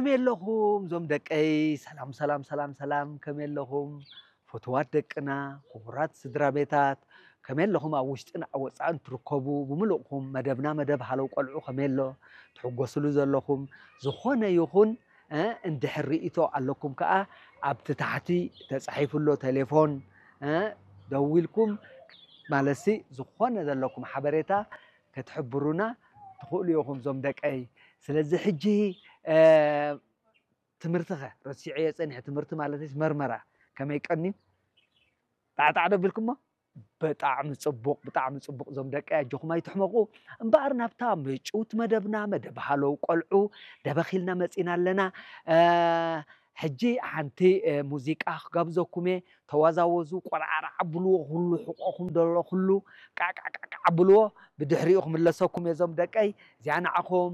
ከመይ ኣለኹም እዞም ደቀይ? ሰላም ሰላም ሰላም ሰላም፣ ከመይ ኣለኹም? ፍቱዋት ደቅና፣ ክቡራት ስድራ ቤታት፣ ከመይ ኣለኹም? ኣብ ውሽጥን ኣብ ወጻእን ትርከቡ ብምሉእኩም፣ መደብና መደብ ሃለው ቆልዑ ከመይ ኣሎ? ትሕጎስሉ ዘለኹም ዝኾነ ይኹን፣ እ፣ እንድሕር ርእይቶ ኣለኩም ከኣ ኣብቲ ታሕቲ ተጻሒፉ ኣሎ ቴሌፎን፣ እ፣ ደዊልኩም ማለትሲ ዝኾነ ዘለኩም ሓበሬታ ክትሕብሩና ትኽእሉ ኢኹም እዞም ደቀይ። ስለዚ ሕጂ፣ እ፣ ትምህርትኸ ረሲዐዮ ጸኒሐ፣ ትምህርቲ ማለትስ መርመራ ከመይ ቀንዩ? ጣዕጣዕ ዶ ኣቢልኩሞ? ብጣዕሚ ጽቡቕ፣ ብጣዕሚ ጽቡቕ። እዞም ደቀይ ኣጆኹም ኣይትሕመቑ። እምበኣር ናብታ ምጭውቲ መደብና፣ መደብ ሃለው ቆልዑ ደበኽ ኢልና መጺና ኣለና። እ፣ ሕጂ ሓንቲ፣ እ፣ ሙዚቃ ክጋብዘኩም እየ። ተዋዛወዙ፣ ቆልዓርዓ ኣብልዎ፣ ኩሉ ሕቖኹም ዘሎ ኩሉ ቃዕቃዕቃዕ ኣብልዎ። ብድሕሪኡ ክምለሰኩም እየ እዞም ደቀይ። እዚኣ ንዓኹም።